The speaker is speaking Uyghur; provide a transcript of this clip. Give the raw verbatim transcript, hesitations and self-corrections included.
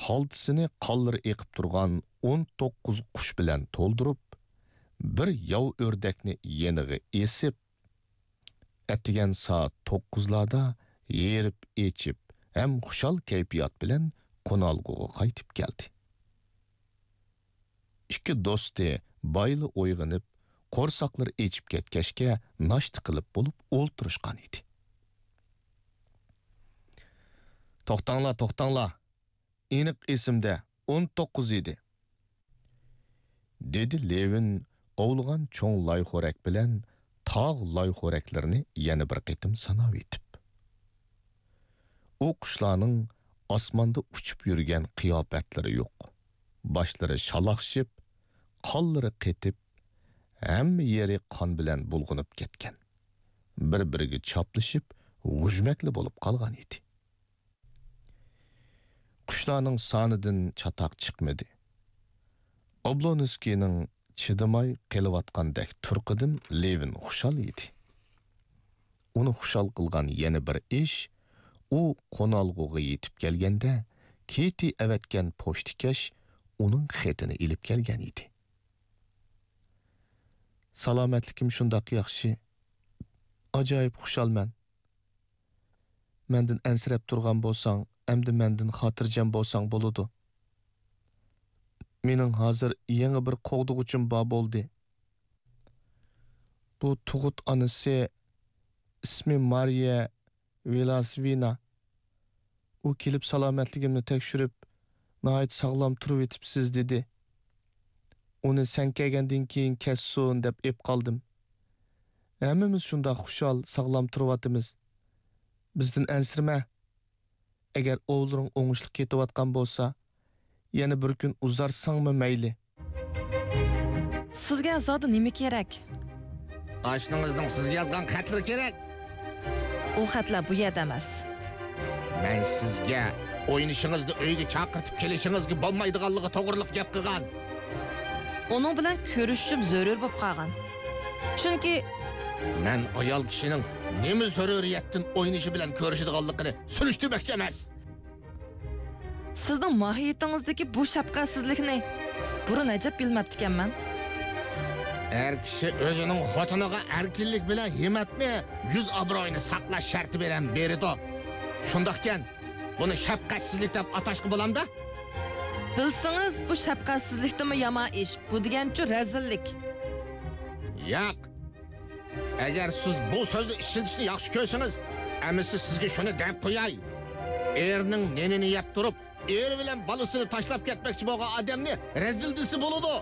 خالتىسىنى قانلىرى ئېقىپ تۇرغان ئون توققۇز قۇش بىلەن تولدۇرۇپ، بىر ياۋا ئۆردەكنى يېنىغا ئېسىپ، ئەتىگەن سائەت توققۇزلاردا ھېرىپ ئېچىپ ھەم خۇشال كەيپىيات بىلەن قونالغۇغا قايتىپ كەلدى. ئىككى دوستى بايىلا ئويغىنىپ، قورساقلىرى ئېچىپ كەتكەچكە ناشتا قىلىپ بولۇپ ئولتۇرۇشقان ئىدى. توختاڭلار، توختاڭلار! ئېنىق ئېسىمدە، ئون توققۇز ئىدى. دېدى لېۋىن ئوۋلىغان چوڭ لايخورەك بىلەن تاغ لايخورەكلىرىنى يەنە بىر قېتىم ساناۋېتىپ. ئۇ قۇشلارنىڭ ئاسماندا ئۇچۇپ يۈرگەن قىياپەتلىرى يوق. باشلىرى شالاقشىپ، قانلىرى قېتىپ، ھەممە يېرى قان بىلەن بۇلغىنىپ كەتكەن. بىر-بىرىگە چاپلىشىپ، غۇژمەكلا بولۇپ قالغان ئىدى. قۇشلارنىڭ سانىدىن چاتاق چىقمىدى. ئوبلونسكىينىڭ چىدىماي قېلىۋاتقاندەك تۇرقىدىن لېۋىن خۇشال ئىدى. ئۇنى خۇشال قىلغان يەنە بىر ئىش، ئۇ قونالغۇغا يېتىپ كەلگەندە، كېتى ئەۋەتكەن پوچتىكەش ئۇنىڭ خېتىنى ئېلىپ كەلگەن ئىدى. سالامەتلىكىم شۇنداق ياخشى. ئاجايىپ خۇشالمەن. مەندىن ئەنسىرەپ تۇرغان بولساڭ، ئەمدى مەندىن خاتىرجەم بولساڭ بولىدۇ. مېنىڭ ھازىر يېڭى بىر قوغدىغۇچىم بار بولدى. بۇ تۇغۇت ئانىسى، ئىسمى مارىيە ۋىلاسۋىنا. ئۇ كېلىپ سالامەتلىكىمنى تەكشۈرۈپ، ناھايىتى ساغلام تۇرۇۋېتىپسىز، دېدى. ئۇنى سەن كەلگەندىن كېيىن كەتسۇن دەپ ئېپ قالدىم. ھەممىمىز شۇنداق خۇشال، ساغلام تۇرۇۋاتىمىز. بىزدىن ئەنسىرىمە. ئەگەر ئوۋلىرىڭ ئوڭۇشلۇق كېتىۋاتقان بولسا، يەنە بىر كۈن ئۇزارتساڭمۇ مەيلى. سىزگە زادى نېمە كېرەك؟ ئاشنىڭىزنىڭ سىزگە يازغان خەتلىرى كېرەك. ئۇ خەتلەر بۇ يەردە ئەمەس. مەن سىزگە ئوينىشىڭىزنى ئۆيگە چاقىرتىپ كېلىشىڭىزگە بولمايدىغانلىقى توغرىلىق گەپ قىلغان. ئۇنىڭ بىلەن كۆرۈشۈشۈم زۆرۈر بولۇپ قالغان. چۈنكى مەن ئايال كىشىنىڭ نېمە زۆرۈرىيەتتىن ئوينىشى بىلەن كۆرۈشىدىغانلىقىنى سۈرۈشتۈرمەكچى ئەمەس. سىزنىڭ ماھىيىتىڭىزدىكى بۇ شەپقەتسىزلىكنى بۇرۇن ئەجەب بىلمەپتىكەنمەن. ئەر كىشى ئۆزىنىڭ خوتۇنىغا ئەركىنلىك بىلەن ھىممەتنى، يۈز ئابرۇيىنى ساقلاش شەرتى بىلەن بېرىدۇ. شۇنداقكەن، بۇنى شەپقەتسىزلىك دەپ ئاتاشقا بولامدا؟ بىلسىڭىز، بۇ شەپقەتسىزلىكتىنمۇ يامان ئىش. بۇ دېگەنچۇ رەزىللىك. ياق. ئەگەر سىز بۇ سۆزنى ئىشلىتىشنى ياخشى كۆرسىڭىز، ئەمىسە سىزگە شۇنى دەپ قوياي. ئېرىنىڭ نېنىنى يەپ تۇرۇپ، ئېرى بىلەن بالىسىنى تاشلاپ كەتمەكچى بولغان ئادەمنى رەزىل دېسە بولىدۇ.